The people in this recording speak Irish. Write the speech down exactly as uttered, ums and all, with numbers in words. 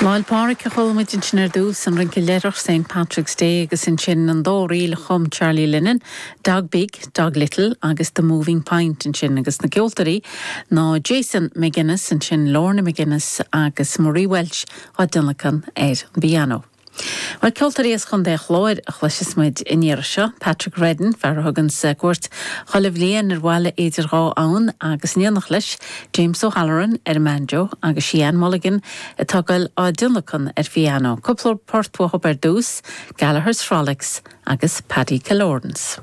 Lá 'le Pádraig a chuala muid ansin ar dtús an rince leithreach St Patrick's Day agus ansin an dá ríl a chum Charlie Lennon, Dog Big, Dog Little agus The Moving Pint ansin agus na ceoltóirí ná Jason McGuinness ansin Lorna McGuinness agus Marie Welch á dtionlacan ar an bpianó. Well ceoltóirí as Chontae an Chláir a chloisfidh muid an iarraidh seo, Patrick Redden fear a thugann cuairt chuile bhliain ar bhaile idir dhá abhainn agus in éineacht leis James O'Halloran ar an mbanjo agus Seán Mulligan atá ag goil á dtionlacan ar phianó. Cúpla port uathu ar dtús, Gallagher's Frolics agus Paddy Kilorans.